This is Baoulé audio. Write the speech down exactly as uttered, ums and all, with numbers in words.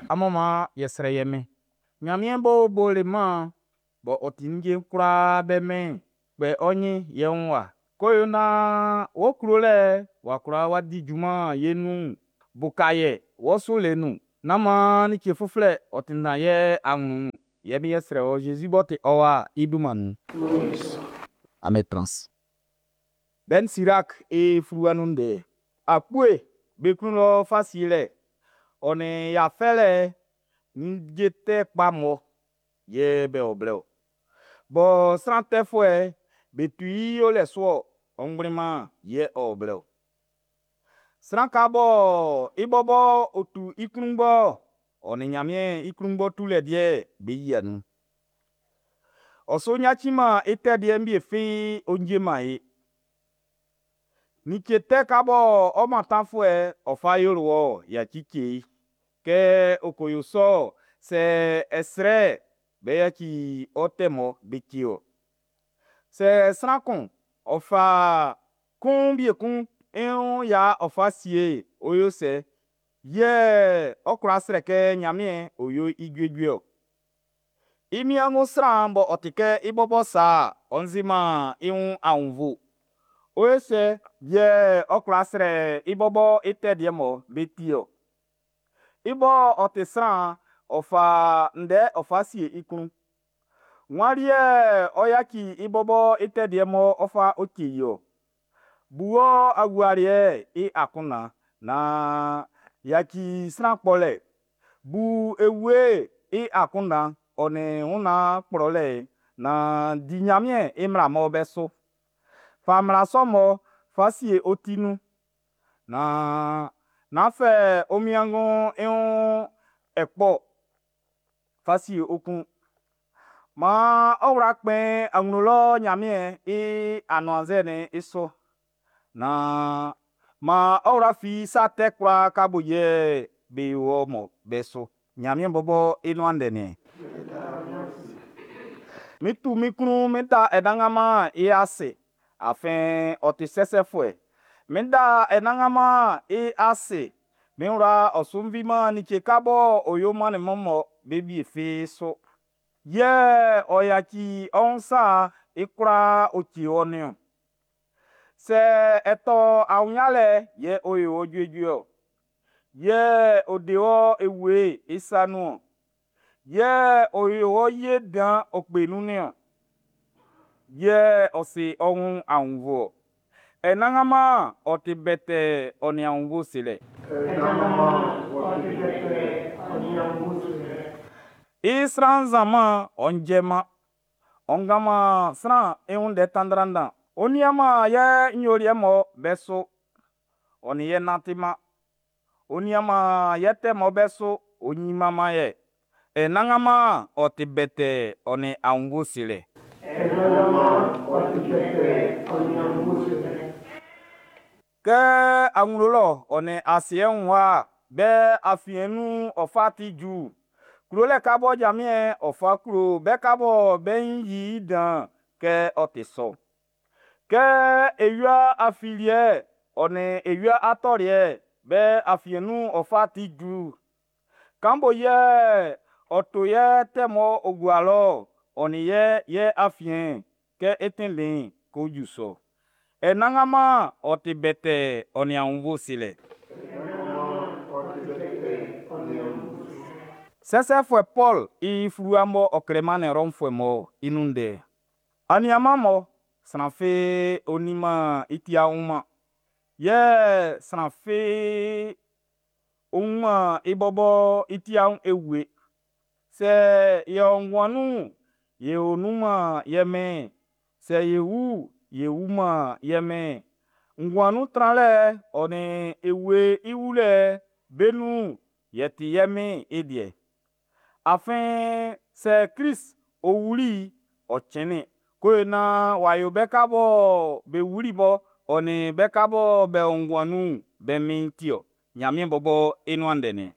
Amun man ye srɛ ye Min. Nyanmiɛn b'ɔ bo lɛ-man, b'ɔ ɔ ti ninnge'n kwlaa be Min'n, kpɛ ɔ́ nyin ye wun wa, k'ɔ yo nan wɔ klolɛ'n wa kwla wa di junman ye nun'n. Uka ye wɔ sulɛ nun, nán man like uflɛ ɔ tanndan ye anwlɛn'n nun. Yɛ yɛ srɛ wɔ Jésus b'ɔ ti ɔ Wa'n i dunman nun. Amun tran ase. Ben Sirak i fluwa nun ndɛ. Akpue be klun lɔ fa sielɛ, ɔ nin ya fɛlɛ ninnge tɛ kpa mun yɛ be o blɛ-ɔ. Bɔ sran tɛfuɛ'n be tu i olɛ su-ɔ ɔ ngbli-man'n yɛ ɔ o blɛ-ɔ. Sran ka bɔ i bɔbɔ ɔ tu i klunngbɔ'n, ɔ nin Nyanmiɛn i klunngbɔ tulɛ liɛ'n be yia nun. Ɔ su yaci-man i tɛ liɛ'n wie fi ɔ cɛ-man ye. Like tɛ ka bɔ ɔ mantanfuɛ'n ɔ fa yoli wɔ'n, yaci cɛ i. Kɛ ɔ ko yo sɔ'n, sɛ ɛ srɛ'n, be ʼyaci ɔ tɛ mun be ʼcɛ wɔ. Sɛ sran kun ɔ fa kun wie kun i wun ya ɔ fa sie'n, ɔ ʼyo sɛ yɛ ɔ kwla srɛ kɛ Nyanmiɛn ɔ yo i juejue-ɔ? I niannun sran b'ɔ ti kɛ i bɔbɔ sa'n, ɔ si-man i wun aunnvuɛ. Ɔ ʼyo sɛ yɛ ɔ kwla srɛ i bɔbɔ i tɛ liɛ mɔ be ti-ɔ? I bɔ ɔ ti sran'n, ɔ fa ndɛ ɔ fa sie i klun. Wan li yɛ ɔ ʼyaci i bɔbɔ i tɛ liɛ m'ɔ ɔ fa ɔ cɛ i-ɔ? Bu ɔ agualiɛ'n i akunndan naan yaci sran kpɔlɛ. Bu ewie'n i akunndan ɔ nin wun kplɔlɛ'n naan di Ɲanmiɛn i mmla'm be su. Fa mmla sɔ mun fa sie ɔ ti nun naan nán fɛ ɔ wiengu'n i wun akpɔ fa sie ɔ klun. Maan ɔ wla kpɛn awlo lɔ Ɲanmiɛn i anuannzɛ'n i su, nán maan ɔ wla fi sa tɛ kwlaa nga bo yɛ be yo wɔ mo'n be su. Ɲanmiɛn bɔbɔ i nuan ndɛ nien. Mi tu min klun mi da Anannganman i ase, afin ɔ ti sɛsɛfuɛ. Mi da Anannganman i ase. Min wla ɔ su fiman like ka b'ɔ yo mannin min mɔ be wie fi su. Yɛ ɔ yaci ɔ wun sa'n i kwlaa ɔ cɛ wɔ nin-ɔn. Sɛ ɛ tɔ awunyalɛ'n, yɛ ɔ yo wɔ juejue-ɔ. Yɛ ɔ de wɔ ewie'n i sa nun-ɔn. Yɛ ɔ yo wɔ ye dan ɔ kpe nun nin-ɔn. Yɛ ɔ si ɔ wun aunnvuɛ. Anannganman ɔ ti wɛtɛɛ ɔ nin aunnvuɛ silɛ. Anannganman ɔ ti wɛtɛɛ ɔ nin aunnvuɛ silɛ. I sran nzanman'n ɔ ndɛman. Ɔ kanman sran i wun ndɛ tandrandan. Ɔ nianman ye nyoliɛ mɔ be su. Ɔ nin ye nantiman. Ɔ nianman ye tɛ mɔ be su. Ɔ yiman ye. Anannganman ɔ ti wɛtɛɛ ɔ nin aunnvuɛ silɛ. Anannganman ɔ ti wɛtɛɛ ɔ nin aunnvuɛ silɛ. Kɛ awlo lɔ ɔ nin asiɛ wun wa'n be afiɛn'n nun ɔ fa ti ju'n, klolɛ ka bɔ Nyanmiɛn ɔ fa klo be ka bɔ be nyin yi i dan'n, kɛ ɔ ti sɔ. Kɛ ewia afiliɛ ɔ nin ewia atɔliɛ be afiɛn'n nun ɔ fa ti ju'n, kan bo yɛ ɔ to ye tɛ m'ɔ o gua lɔ'n, ɔ nin ye ye afiɛn'n, kɛ i tɛnndɛn'n ko ju sɔ. Anannganman ɔ ti wɛtɛɛ ɔ nin aunnvuɛ silɛ. Anannganman ɔ ti wɛtɛɛ ɔ nin aunnvuɛ silɛ. Sɛsɛfuɛ Pɔl i fluwa m'ɔ klɛ mannin Rɔmfuɛ mun'n i nun ndɛ. Aniaanmun mɔ sran fi ɔ nin-man i tiaun man, yɛ sran fi ɔ wun-man i bɔbɔ i tiaun ewie. Sɛ ye o nguan nun'n, ye o nun man ye Min'n, sɛ ye wu'n, ye wu man ye Min'n. Nguan nun tranlɛ'n ɔ nin ewie'n i wulɛ'n be nun'n, ye ti ye Min'n i liɛ. Afin sɛ Klist ɔ wuli'n, ɔ cɛnnin ko yo naan w'a yo be ka bɔ be wuli bɔ ɔ nin be ka bɔ be o nguan nun'n be Min'n ti-ɔ. Ɲanmiɛn bɔbɔ i nuan ndɛ nin.